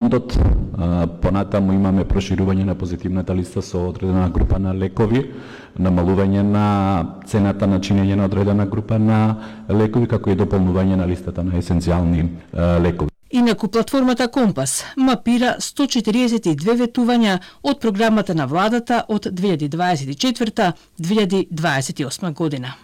Понатаму имаме проширување на позитивната листа со одредена група на лекови, намалување на цената на чинење на одредена група на лекови, како и дополнување на листата на есенцијални лекови. Инаку платформата Компас мапира 142 ветувања од програмата на владата од 2024-2028 година.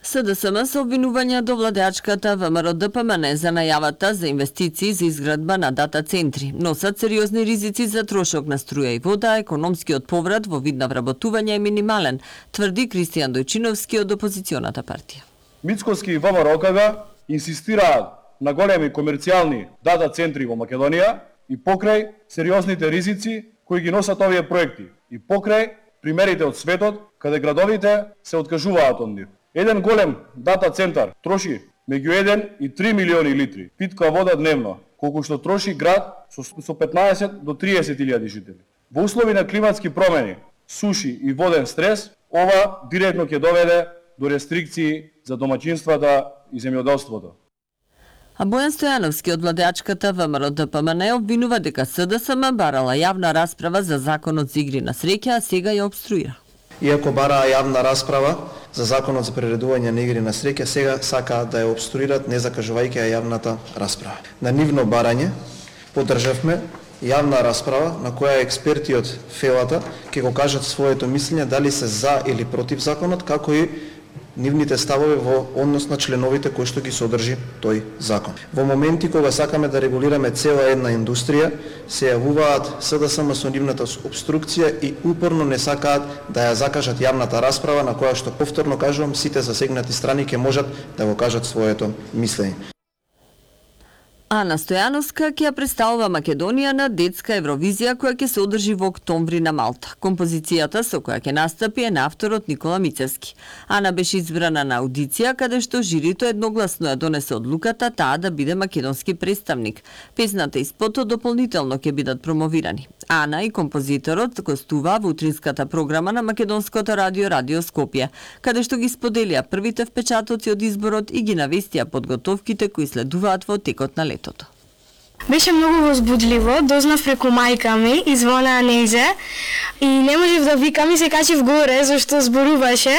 СДСМ со обвинувања до владеачката ВМРО-ДПМН за најавата за инвестиции за изградба на дата центри. Носат сериозни ризици за трошок на струја и вода, економскиот поврат во вид на вработување е минимален, тврди Кристијан Дојчиновски од опозиционата партија. Мицкоски и ВМРО-КГ инсистираат на големи комерцијални дата центри во Македонија и покрај сериозните ризици кои ги носат овие проекти и покрај примерите од светот каде градовите се откажуваат од нив. Еден голем дата центар троши меѓу 1 и 3 милиони литри питка вода дневно, колку што троши град со 15 до 30 илјади жители. Во услови на климатски промени, суши и воден стрес, ова директно ќе доведе до рестрикции за домаќинствата и земјоделството. А Бојан Стојановски од владеачката ВМРО-ДПМН обвинува дека СДСМ барала јавна расправа за законот за игри на среќа, а сега ја обструира. Иако бараа јавна расправа за законот за приредување на игри на среќа, сега сакаат да ја обструират не закажувајќи ја јавната расправа. На нивно барање поддржавме јавна расправа на која експерти од ФЕЛАТА ќе го кажат своето мислење дали се за или против законот, како и нивните ставови во однос на членовите кои што ги содржи тој закон. Во моменти кога сакаме да регулираме цела една индустрија, се јавуваат СДСМ со нивната обструкција и упорно не сакаат да ја закажат јавната расправа на која што повторно кажувам сите засегнати страни ќе можат да го кажат своето мислење. Ана Стојановска ќе ја представува Македонија на детска Евровизија која ќе се одржи во октомври на Малта. Композицијата со која ќе настапи е на авторот Никола Мицевски. Ана беше избрана на аудиција каде што жирито едногласно ја донесе одлуката таа да биде македонски представник. Песната и спотот дополнително ќе бидат промовирани. Ана и композиторот гостуваа во утринската програма на Македонското радио Радио Скопје, каде што ги споделија првите впечатоци од изборот и ги навестија подготовките кои следуваат во текот на летото. Беше многу возбудливо, дознав преку мајка ми, извонаа нејзе и не можев да викам и се качив горе зашто зборуваше.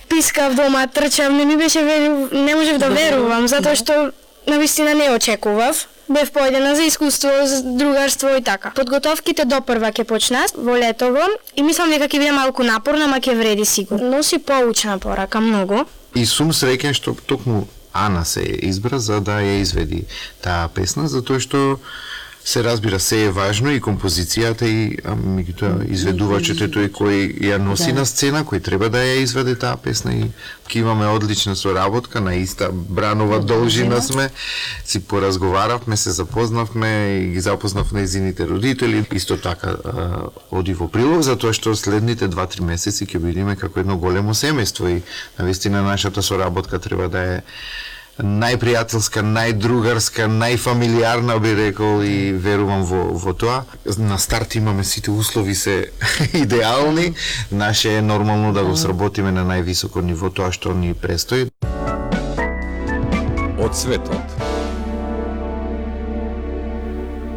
Пискав дома, трчав, не можев да верувам затоа што навистина не очекував. Бев поедена за искуство, за другарство и така. Подготовките допрва ќе почнат во летово и мислам дека ќе биде малку напорно, ама ќе вреди сигурно. Носи поучна порака многу. И сум среќен што токму Ана се избра за да ја изведи таа песна, затоа што се разбира се е важно и композицијата и меѓутоа изведувачот тој кој ја носи на сцена, кој треба да ја изведе таа песна и ќе имаме одлична соработка, на иста бранова должина сме, си поразговаравме, се запознавме и ги запознав нејзините родители. Исто така оди во прилог затоа што следните 2-3 месеци ќе бидеме како едно големо семејство и навистина нашата соработка треба да е најпријателска, најдругарска, најфамилиарна би рекол и верувам во тоа. На старт имаме сите услови се идеални, наше е нормално да го сработиме на највисоко ниво тоа што ни престои. Од светот.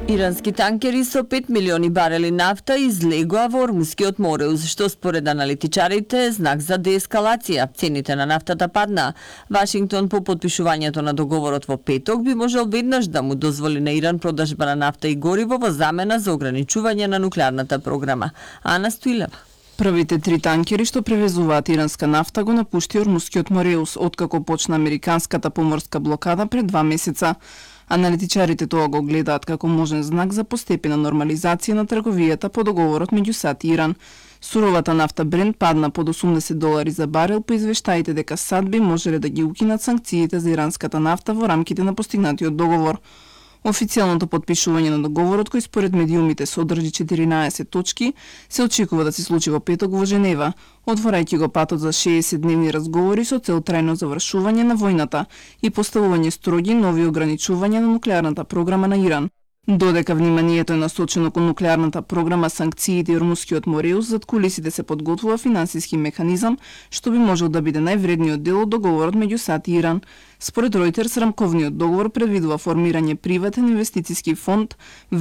Ирански танкери со 5 милиони барели нафта излегоа во Ормускиот мореус, што според аналитичарите е знак за деескалација. Цените на нафтата паднаа. Вашингтон по потпишувањето на договорот во петок би можел веднаш да му дозволи на Иран продажба на нафта и гориво во замена за ограничување на нуклеарната програма. Ана Стоилева. Првите 3 танкери што превезуваат иранска нафта го напушти Ормускиот мореус откако почна американската поморска блокада пред 2 месеца. Аналитичарите тоа го гледаат како можен знак за постепена нормализација на трговијата по договорот меѓу САД и Иран. Суровата нафта Брент падна под $80 за барел по извештаите дека САД би можеле да ги укинат санкциите за иранската нафта во рамките на постигнатиот договор. Официјалното потпишување на договорот, кој според медиумите содржи 14 точки, се очекува да се случи во петок во Женева, отворајќи го патот за 60-дневни разговори со цел трајно завршување на војната и поставување строги нови ограничувања на нуклеарната програма на Иран. Додека вниманието е насочено кон нуклеарната програма, санкциите и румускиот Мореус, зад кулисите се подготвува финансиски механизам што би можел да биде највредниот дел од договорот меѓу САД и Иран. Според Reuters, рамковниот договор предвидува формирање приватен инвестициски фонд